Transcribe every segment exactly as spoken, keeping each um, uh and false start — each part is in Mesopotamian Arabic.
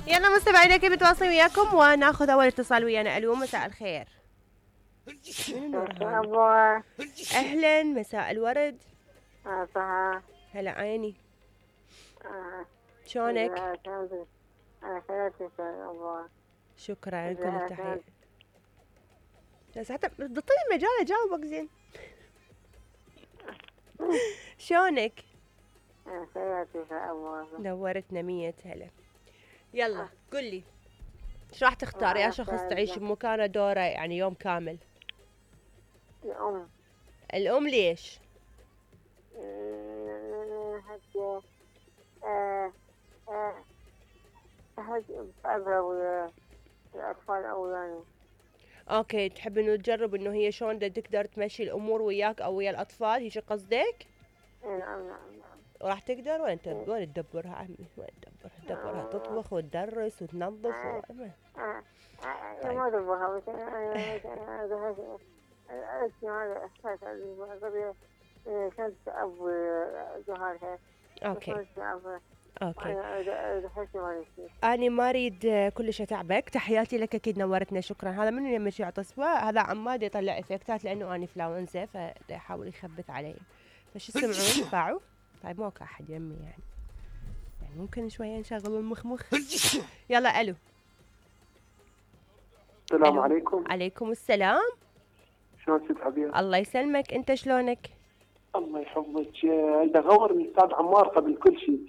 يلا مستمعينا كيف متواصلين وياكم وناخذ اول اتصال ويانا. الو مساء الخير. مرحبا. اهلا مساء الورد. اه هلا عيني. اه شلونك؟ انا خيرتي ابوها. شكرا كل التحية. بس حتى بتعطيني المجال اجاوبك زين. شلونك؟ انا خيرتي ابوها. نورتنا مية هلا. يلا قولي شو راح تختار يا شخص تعيش بمكانه دوره يعني يوم كامل؟ الأم. الأم ليش؟ حتى آه آه أحد أبغى ويا الأطفال أولاني. اوكي تحب انه تجرب انه هي شلون تقدر تمشي الامور وياك او ويا الاطفال، هيك قصدك؟ نعم نعم نعم. وراح تقدر وين وين تدبرها عمي؟ وين تدبرها؟ تدبرها تطبخ وتدرس وتنظف و... اه اه اه ما ادبرها بس انا انا اسمع هذا احساس قبل كنت ابو جوهرها. اوكي اوكي. أنا أنا ما أريد كلش أتعبك، تحياتي لك أكيد نورتنا شكرا. هذا منو يمشي يعطي تصوى؟ هذا عماد يطلع إفكتات لأنه أنا فلاونزا فيحاول يخبث علي. فشو تسمعون؟ باعوا؟ طيب ماكو أحد يمي يعني. يعني ممكن شوية نشغل المخمخ. يلا ألو. السلام ألو. عليكم. عليكم السلام. شلون ست عبير؟ الله يسلمك، أنت شلونك؟ الله يحفظك. إذا غور الأستاذ عمار قبل كل شيء.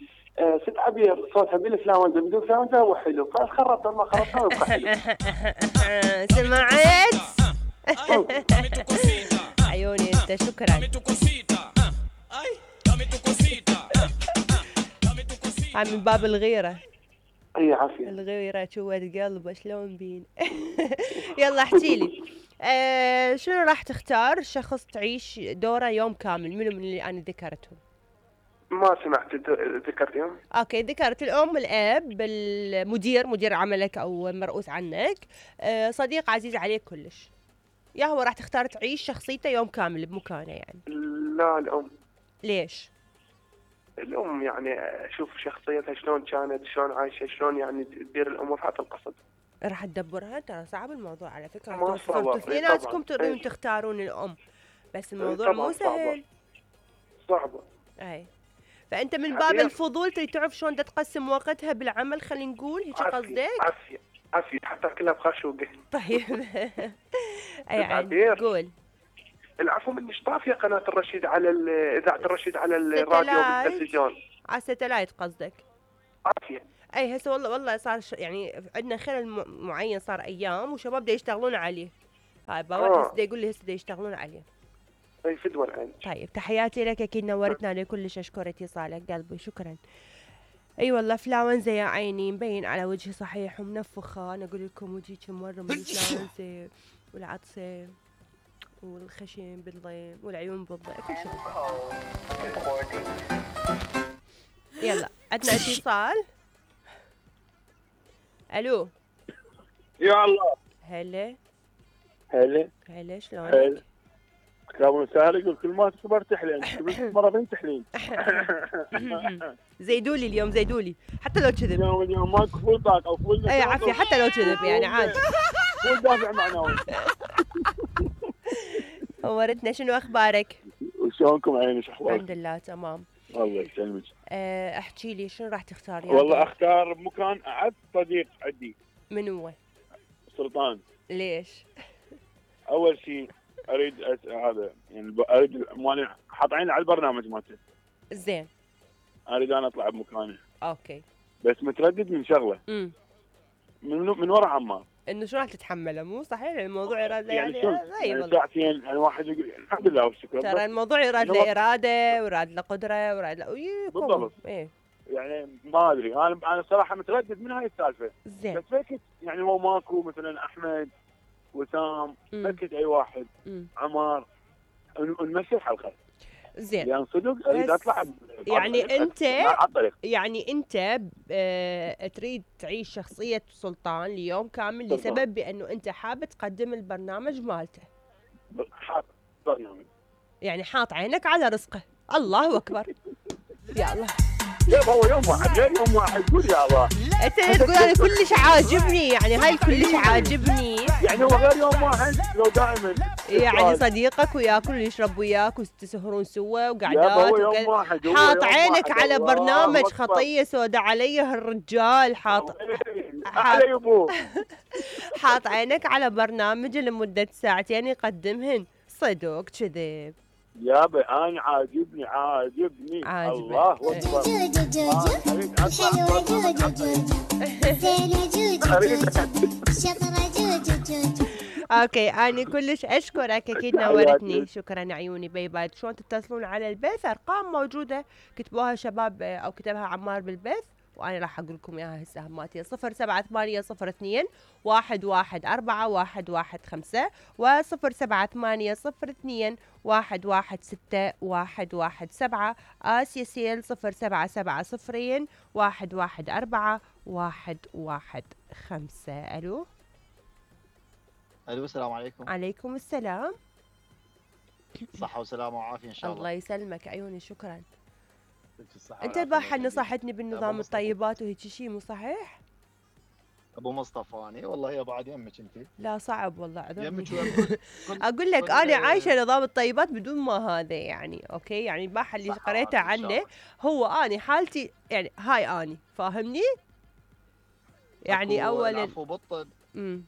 ست عبير صوتها بالفلاونزا بدون فلاونزا هو حلو، فخربت ما خربتها يبقى حلو. سمعت؟ عيوني انت شكرا. هاي من باب الغيرة. اي عافية. الغيرة جوة قلبه شلون بين. يلا احكي لي آه شنو راح تختار شخص تعيش دوره يوم كامل؟ منو من اللي انا ذكرتهم؟ ما سمعت ذكرتهم. اوكي ذكرت الام، الاب، المدير مدير عملك او مرؤوس عنك، أه صديق عزيز عليك كلش. يا هو راح تختار تعيش شخصيته يوم كامل بمكانه يعني؟ لا الام. ليش؟ الام يعني اشوف شخصيتها شلون كانت، شلون عايشه، شلون يعني تدير الامور حتى القصد. راح تدبرها؟ ترى صعب الموضوع على فكره. ما صعب. اثنيناتكم تريدون تختارون الام بس الموضوع مو سهل. صعبه. اي فانت من باب الفضول تريد تعرف شلون تقسم وقتها بالعمل، خلينا نقول هيك قصدك؟ عافيه عافيه حتى كلها بخشوقه. طيب اي عاد قول. العفو منش طافيه قناه الرشيد على اذاعه الرشيد على الراديو والتلفزيون. على الستلايت قصدك؟ عافيه. اي هسه والله والله صار ش... يعني عندنا خلل معين صار ايام وشباب دا يشتغلون عليه. هاي بابا آه. هسه دا يقول لي هسه دا يشتغلون عليه. اي فدوى العين. طيب تحياتي لك اكيد نورتنا عليه كلش، اشكر اتصالك قلبي شكرا. اي أيوة والله فلاونزا يا عيني مبين على وجهي صحيح ومنفخه. انا اقول لكم وجهي مره من الفلاونزا والعطسه والخشم بالضيم والعيون بالضيم كل شيء. يلا عندنا اتصال. الو. يا الله. هلا هلا هلا شلونك؟ كلام وسهلا. يقول كل ما تكبر تحلين، كل مره بنت تحلين. زيدولي اليوم زيدولي حتى لو كذب. اليوم اليوم ماكو فول طاق او فول. اي عافيه حتى لو كذب يعني عادي. فول دافع معنوي. نورتنا، شنو اخبارك؟ وشلونكم عيني شو احوالك؟ الحمد لله تمام. الله يسلمك. أه احكي لي شنو راح تختار؟ والله اختار مكان اعز صديق عندي. من هو؟ سلطان. ليش؟ اول شيء اريد أس... هذا يعني اريد ماني حاط عيني على البرنامج مالته. زين. اريد انا اطلع بمكانه. اوكي. بس متردد من شغله. امم من من ورا عمار. انه شو راح تتحمله؟ مو صحيح الموضوع اراده يعني يعني ساعتين يعني واحد يقول يعني الحمد لله والشكر. ترى الموضوع يراد له اراده ويراد له قدره ويراد له بالضبط. ايه يعني ما ادري انا انا صراحه متردد من هاي السالفه. زين. بس فكت يعني هو ماكو مثلا احمد وسام فكت اي واحد مم. عمار ونمشي الحلقه. زين. يعني صدق اريد اطلع يعني انت يعني انت اه تريد تعيش شخصيه سلطان ليوم كامل بالضبط. لسبب بانه انت حابب تقدم البرنامج مالته. حاط برنامج يعني حاط عينك على رزقه. الله اكبر. يا الله. كيف هو يوم واحد غير يوم واحد قول يا الله. انت اللي تقول انا كلش عاجبني، يعني هاي كلش عاجبني. يعني هو غير يوم واحد لو دائما يعني صديقك وياكل ويشرب وياك وتسهرون سوا يابا وقعدات هو يوم وكذا. واحد، هو حاط يوم عينك واحد. على الله برنامج أكبر. خطية سودا علي هالرجال، حاط على يبوه. حاط عينك على برنامج لمدة ساعتين يقدمهن، صدق كذب. يابا انا عاجبني عاجبني عاجبك. الله اكبر. جوجو جوجو أريد أسمع حلوة برنامج جوجو جوجو زينة جوجو جوجو شطرة جوجو جوجو. اوكي انا كلش اشكرك، اكيد نورتني. شكرا عيوني، باي باي. شلون تتصلون على البث؟ ارقام موجوده كتبوها شباب او كتبها عمار بالبث وانا راح اقول لكم اياها هسه هماتي. صفر سبعة ثمانية صفر اثنين واحد واحد أربعة واحد واحد خمسة وصفر سبعة ثمانية صفر اثنين واحد واحد ستة واحد واحد سبعة. آسيا سيل صفر سبعة سبعة صفرين واحد واحد أربعة واحد واحد خمسة. الو الو السلام عليكم. عليكم السلام. صحة وسلامة وعافية ان شاء الله. الله يسلمك عيوني، شكرا. في الصحة انت والعافية. البارحة الله يخليك. نصحتني بالنظام أبو مصطفى. الطيبات وهيك شيء، مو صحيح؟ ابو مصطفى اني والله يا بعد يمك انت. لا صعب والله، عذرني. يمك ويم- كنت- اقول لك كنت- انا عايشه نظام الطيبات بدون ما هذا يعني. اوكي يعني البارحه اللي صحة قريته وعافية إن شاء عنه الله. هو اني حالتي يعني هاي اني فاهمني يعني أكو اول العفو بالطب، امم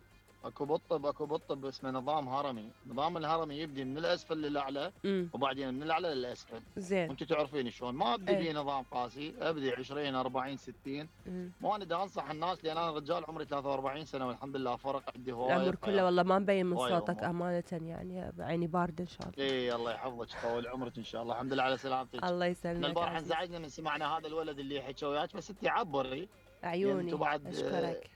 اكو بالطب اكو بالطب اسمه نظام هرمي. نظام الهرمي يبدي من الاسفل للاعلى امم وبعدين من الاعلى للاسفل. زين. وانت تعرفين شلون ما ابدي إيه. في نظام قاسي، ابدي عشرين أربعين ستين. مم. مو انا دا انصح الناس لان انا رجال عمري ثلاثة وأربعين سنه والحمد لله فرق عندي هوايه. العمر كله والله ما مبين من هواية صوتك أمور. امانه، يعني بعيني بارده ان شاء الله. اي الله يحفظك طول عمرك ان شاء الله. الحمد لله على سلامتك. الله احنا يسلمك البارحه عزيز. انزعجنا من سمعنا هذا الولد اللي حكى وياك، بس انت عبري عيوني انتوا بعد- اشكرك.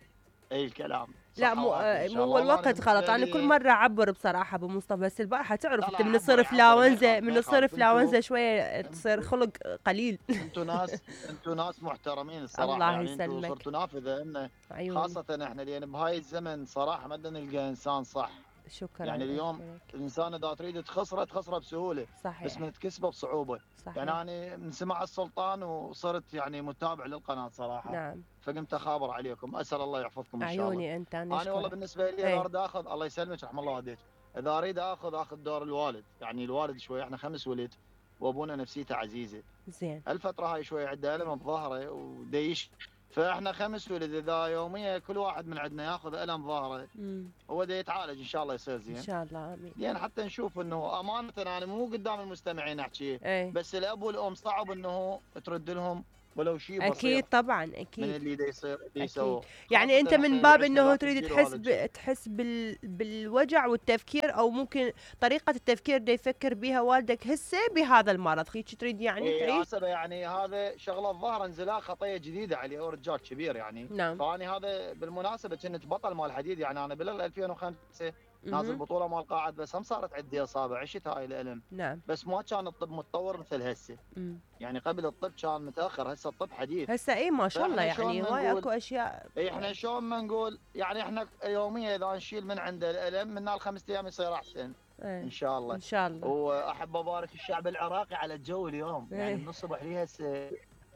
اي الكلام. لا صحة مو وعافية إن شاء مو الله. والله الوقت بالنسبة غلط، انا لي- كل مره اعبر بصراحه ابو مصطفى، بس البارحه تعرف لا انت لا من عبر- تصير عبر، فلاونزا ما من يخالف، تصير انتوا- فلاونزا شويه تصير خلق قليل. انتوا ناس انتوا ناس محترمين الصراحه. الله يعني انتوا يسلمك. صرتوا نافذه انه عيوني خاصه احنا لان بهاي الزمن صراحه ما بدنا نلقى انسان صح. شكرا. يعني اليوم أشكرك. الانسان اذا تريد تخسره تخسره بسهوله، صحيح بس من تكسبه بصعوبه. صحيح. يعني انا من سمع السلطان وصرت يعني متابع للقناه صراحه. نعم فقمت اخابر عليكم. اسال الله يحفظكم ان شاء الله. عيوني انت. انا انا والله أشكرك. بالنسبه لي إيه. اذا اريد اخذ الله يسلمك رحم الله والديك، اذا اريد اخذ اخذ دور الوالد. يعني الوالد شوي احنا خمس ولد وابونا نفسيته عزيزه. زين. الفتره هاي شوي عنده الم بظهره وديش، فاحنا خمس ولد اذا يوميا كل واحد من عندنا ياخذ الم ظهره امم هو دا يتعالج ان شاء الله يصير ان زين. شاء الله امين. لان حتى نشوف انه امانه انا مو قدام المستمعين احكي، ايه بس الاب والام صعب انه ترد لهم ولو شيء بسيط اكيد طبعا من اكيد. اللي دا يصير اللي أكيد. يسووه. يعني خاصة انت إحنا من باب اللي انه عشنا تريد لا تحس تديروا ب... هذا الشيء. تحس بال... بالوجع والتفكير، او ممكن طريقه التفكير اللي يفكر بها والدك هسه بهذا المرض، هيك تريد يعني إيه تعيش. حسب يعني هذا شغله الظاهر انزلاق خطيه جديده عليه، هو رجال كبير يعني. نعم. فاني هذا بالمناسبه كنت بطل مال حديد، يعني انا بال ألفين وخمسة نازل مهم. بطوله مال قاعد، بس هم صارت عندي اصابه عشت هاي الالم، نعم. بس ما كان الطب متطور مثل هسه. مم. يعني قبل الطب كان متاخر، هسه الطب حديث. هسه اي ما شاء الله فإحنا يعني شلون هواي نقول- اكو اشياء. اي احنا شلون ما نقول يعني احنا يوميا اذا نشيل من عنده الالم من الخمس ايام يصير احسن ايه. ان شاء الله. ان شاء الله. واحب ابارك الشعب العراقي على الجو اليوم، يعني إيه. من الصبح لي هسه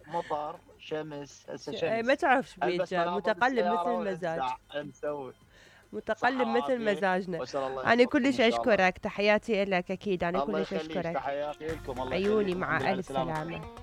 مطر شمس هسه ش- إيه، شمس. ما تعرف شو ألبس بيجا، ملابس متقلب السيارة مثل المزاج. وأنزع، مسوي. متقلب صحة مثل وعافية. مزاجنا. وأسأل الله انا يحفظكم إن كلش شاء الله. اشكرك، تحياتي لك اكيد، انا الله كلش يخليك، اشكرك. تحياتي لكم. الله عيوني يخليكم. مع الحمد لله الف على السلامة. سلامه.